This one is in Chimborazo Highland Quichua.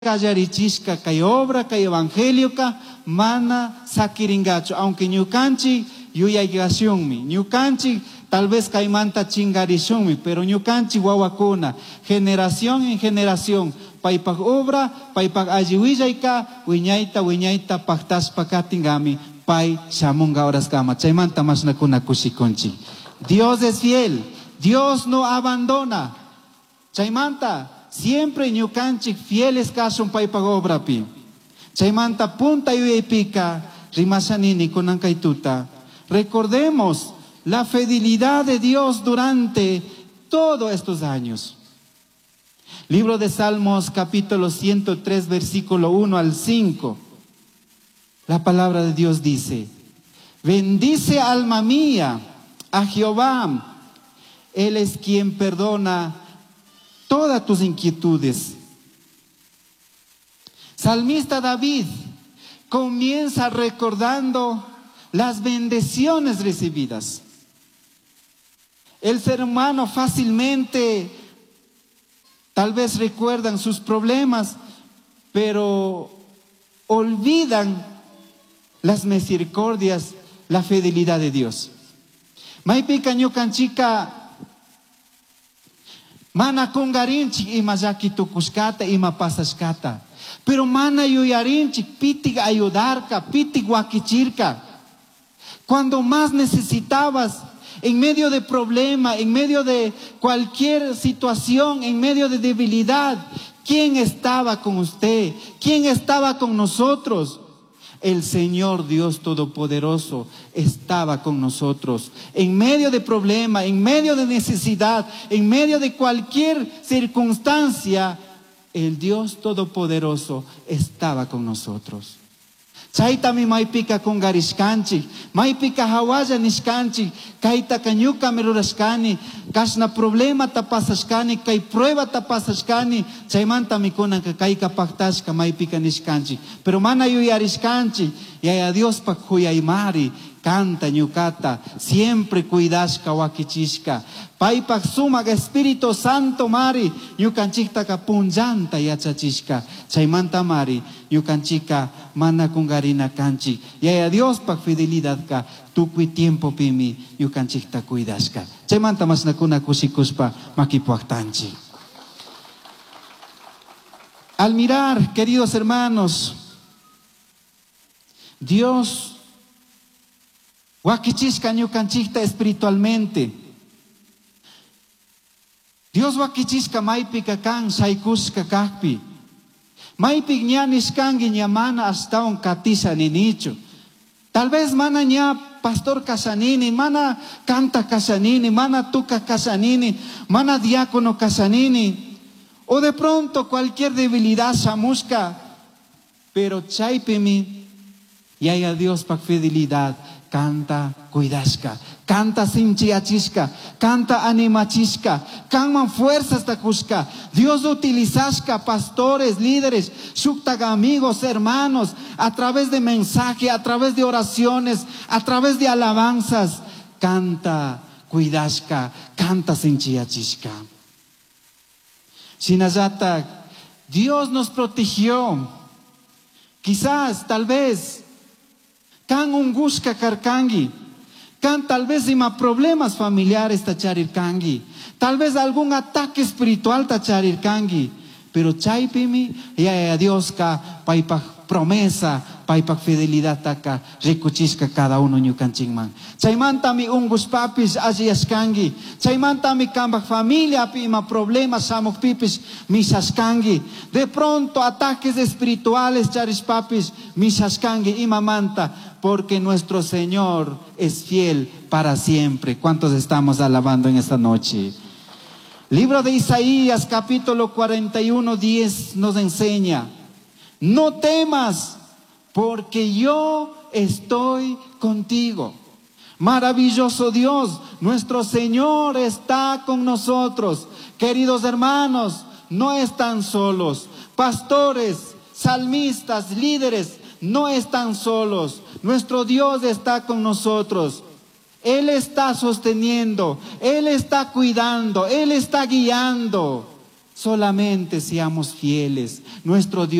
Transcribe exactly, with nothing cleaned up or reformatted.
Callarichishca kay obra, kay evangelioka mana saquiringachu, aunque ñukanchik yuyaykashunmi, ñukanchik tal vez kaymanta chingarishunmi, pero ñukanchik wawakuna, generación en generación, paypak obra, paypak alli willayka, wiñayta wiñayta paktashpa katingami, pay shamunga horaskama. Chaymanta mashnakuna kushikunchik. Dios es fiel, Dios no abandona. Chaymanta siempre ñukanchik fieles kashun paypak obrapi. Chaymanta punta yuyaypika rimashanini kunan kay tuta. Recordemos la fidelidad de Dios durante todos estos años. Libro de Salmos, capítulo ciento tres, versículo uno al cinco. La palabra de Dios dice: bendice alma mía a Jehová, Él es quien perdona todas tus inquietudes. Salmista David comienza recordando las bendiciones recibidas. El ser humano fácilmente tal vez recuerdan sus problemas, pero olvidan las misericordias, la fidelidad de Dios. Maypika ñukanchika mana kungarinchik ima llaki tukushkata, ima pasashkata. Pero mana yuyarinchik pitik ayudarka, pitik wakichirka. Cuando más necesitabas, en medio de problema, en medio de cualquier situación, en medio de debilidad, ¿quién estaba con usted? ¿Quién estaba con nosotros? El Señor Dios Todopoderoso estaba con nosotros. En medio de problema, en medio de necesidad, en medio de cualquier circunstancia, el Dios Todopoderoso estaba con nosotros. Chaytami maypika kungarishkanchik, maypika hawalla nishkanchik, kaytaka ñukami rurashkani, kashna problemata pasashkani, kay pruebata pasashkani, chaymantami kunanka kayka paktashka maypika nishkanchik. Pero mana yuyarishkanchik, Yaya Diospak huyaymari, kanta ñukata, siempre cuidashka wakichishka. Paypak sumak Espíritu Santo mari, ñukanchiktaka punllanta yachachishka. Chaymanta mari, ñukanchika mana kungarina kanchik. Yaya Diospak fidelidadka tukuy tiempopimi ñukanchikta cuidashka. Chaymanta mashnakuna kushikushpa makipuaktanchik. Al mirar, queridos hermanos, Dios wakichishka ñukanchikta espiritualmente. Dios wakichishka maypika kan shaykushka kakpi. Maypi ña nishkanki ña mana ashtawan katisha ninichu. Tal vez mana ña pastor kashanini, mana canta kashanini, mana tuka kashanini, mana diácono kashanini. O de pronto cualquier debilidad shamushka. Pero chaypimi Yaya Diospak fidelidad kanta cuidashka, kanta sinchiachishka, kanta animachishka, kanman fuerzas takushka. Dios utilizashka pastores, líderes, shuktak amigos, hermanos, a través de mensaje, a través de oraciones, a través de alabanzas, kanta cuidashka, kanta sinchiachishka. Shinallata, Dios nos protegió. Quizás, tal vez, kan ungushka karkangi, kan tal vez ima problemas familiares tacharirkangi, tal vez algún ataque espiritual tacharirkangi, pero chaypimi Yaya Dioska paypak promesa, paypak fidelidad taka rikuchishka cada uno ñukanchikman. Chaymantami ungushpapis alliyashkangi, chaymantami kanpak familiapi ima problemas shamukpipis mishashkangi, de pronto ataques espirituales charishpapis mishashkangi imamanta, porque nuestro Señor es fiel para siempre. ¿Cuántos estamos alabando en esta noche? Libro de Isaías, capítulo cuarenta y uno, diez, nos enseña: no temas, porque yo estoy contigo. Maravilloso Dios, nuestro Señor está con nosotros. Queridos hermanos, no están solos. Pastores, salmistas, líderes, no están solos. Nuestro Dios está con nosotros. Él está sosteniendo, Él está cuidando, Él está guiando. Solamente seamos fieles. Nuestro Dios.